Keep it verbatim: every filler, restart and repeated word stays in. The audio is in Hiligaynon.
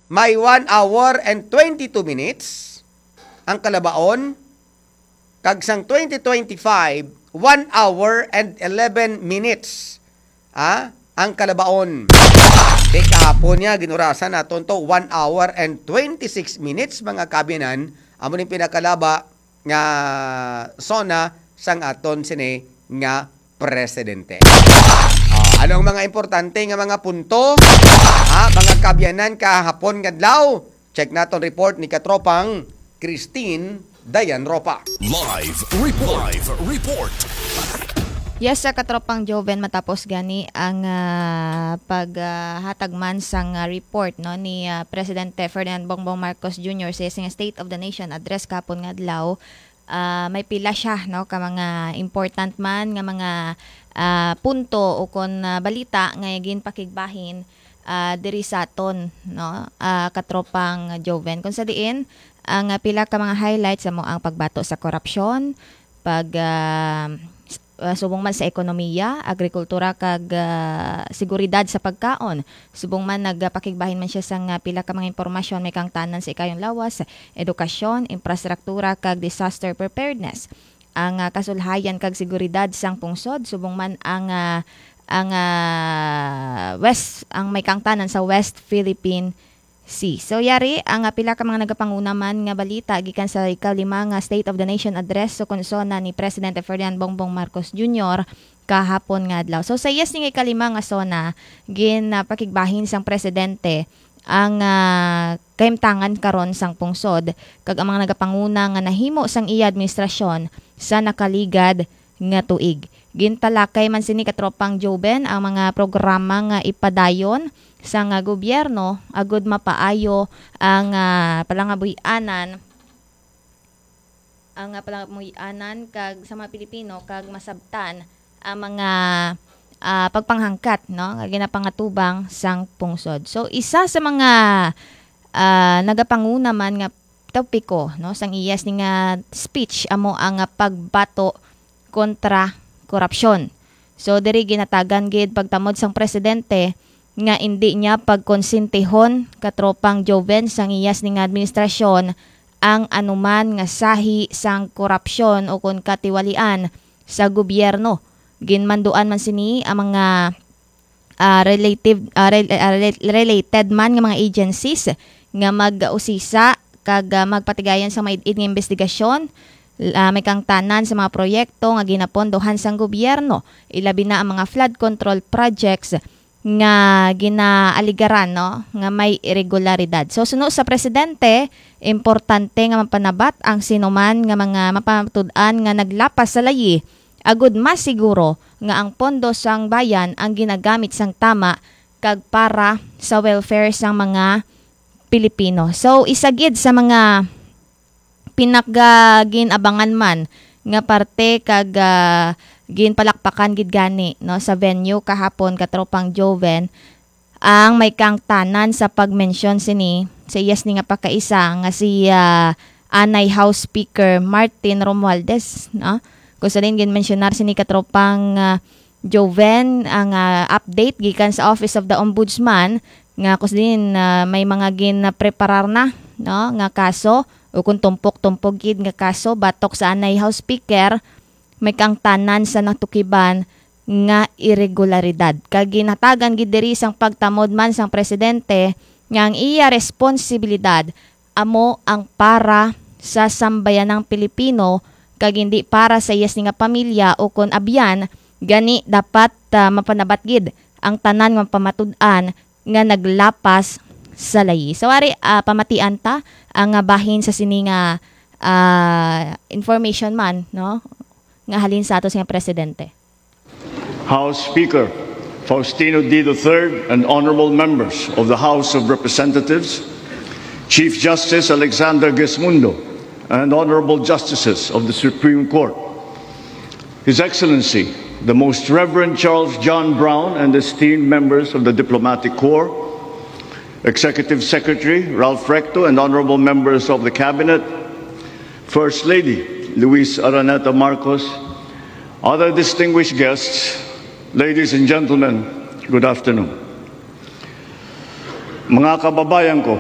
may one hour and twenty-two minutes ang kalabaon, kag sang twenty twenty-five, one hour and eleven minutes, ah, ang kalabaon. Kay kahapon niya, ginurasan naton to, one hour and twenty-six minutes, mga kaabyanan, amo ning pinakalaba nga SONA sang aton sini nga presidente. Ah, ano ang mga importante nga mga punto, ha, mga kaabyanan, kahapon nga adlaw? Check naton report ni katropang Christine Dayan Ropa. Live report. Live report. Yes, sa katropang Joven, matapos gani ang, ah, paghatag man sang, ah, report, no, ni, ah, Presidente Ferdinand Bongbong Marcos Junior sa iyang State of the Nation Address kahapon nga adlaw, ah, may pila siya, no, ka mga important man nga mga, ah, punto o kon, ah, balita nga ginpakigbahin, ah, diri sa aton, no, ah, katropang Joven. Kung sa diin, ang, ah, pila ka mga highlights amo ang pagbato sa korupsyon, pag, ah, s-, ah, subong man sa ekonomiya, agrikultura, kag, ah, seguridad sa pagkaon. Subong man nagapakigbahin man siya sang, ah, pila ka mga impormasyon may kaangtanan sa ikayong lawas, edukasyon, infrastruktura, kag disaster preparedness. Ang, ah, kasulhayan kag seguridad sang pungsod, subong man ang, ah, ang, ah, West, ang may kaangtanan sa West Philippine Sea. So, yari ang, ah, pila ka mga nagapanguna man nga balita gikan sa ikalima nga State of the Nation Address sa konsona ni Presidente Ferdinand Bongbong Marcos Junior kahapon nga adlaw. So, sa iyas ning ikalima nga SONA, ginapakigbahin sang presidente ang, ah, kahimtangan karon sang pungsod kag ang mga nagapanguna nga nahimo sang iya administrasyon sa nakaligad nga tuig. Gintalakay man sini, katropang Joven, ang mga programa nga ipadayon sang, ah, gobyerno agud mapaayo ang, ah, palangabuy-anan, ang, ah, palangabuy-anan kag sa mga Pilipino kag masabtan ang mga, ah, pagpanghangkat, no, nga ginapangatubang sang pungsod. So, isa sa mga, ah, nagapanguna man nga topiko, no, sang iyas ni nga speech amo ang, ah, pagbato kontra korupsyon. So, diri ginatagan gid pagtamod sang presidente nga indi niya pagkonsentihon, katropang Joven, sang iyas ni nga administrasyon ang anuman nga sahi sang korupsyon o kon katiwalian sa gobyerno. Ginmanduan man sini ang mga, ah, relative, ah, rel-, ah, rel-, related man nga mga agencies nga mag-usisa kag, ah, magpatigayon sa maid-id nga investigasyon. Ah, may kaangtanan sa mga proyekto nga ginapondohan sang gobyerno, ilabi na ang mga flood control projects nga ginaaligaran, no, nga may irregularidad. So, suno sa presidente, importante nga mapanabat ang sinuman nga mga mapamatud-an nga naglapas sa layi agud masiguro nga ang pondo sang bayan ang ginagamit sang tama kag para sa welfare sang mga Pilipino. So, isa gid sa mga pinakagin-abangan man nga parte kag, ah, ginpalakpakan gid gani, no, sa venue kahapon, katropang Joven, ang may kaangtanan sa pagmensyon sini sa iyas ni nga pakaisa nga si, ah, anay House Speaker Martin Romualdez, no? Kung sa din ginmensyonar sini, katropang, ah, Joven, ang, ah, update gikan sa Office of the Ombudsman nga kung sa din, ah, may mga ginpreparar na, no, nga kaso o kung tumpok-tumpok gid nga kaso batok sa anay House Speaker, may kaangtanan sa natukiban nga iregularidad. Kag ginhatagan gid diri sang pagtamod man sang presidente nga ang iya responsibilidad amo ang para sa sambayanang Pilipino kag hindi para sa iya sini nga pamilya o kon abyan, gani dapat, ah, mapanabat gid ang tanan nga pamatud-an nga naglapas sa layi. So, ari, ah, pamatian ta ang, ah, bahin sa sini nga, ah, information man, no, nga halin sa ato sa presidente. House Speaker Faustino D the third and honorable members of the House of Representatives, Chief Justice Alexander Gesmundo, and honorable justices of the Supreme Court, His Excellency, the Most Reverend Charles John Brown, and esteemed members of the Diplomatic Corps, Executive Secretary Ralph Recto, and honorable members of the Cabinet, First Lady Luis Araneta Marcos, other distinguished guests, ladies and gentlemen, good afternoon. Mga kababayan ko,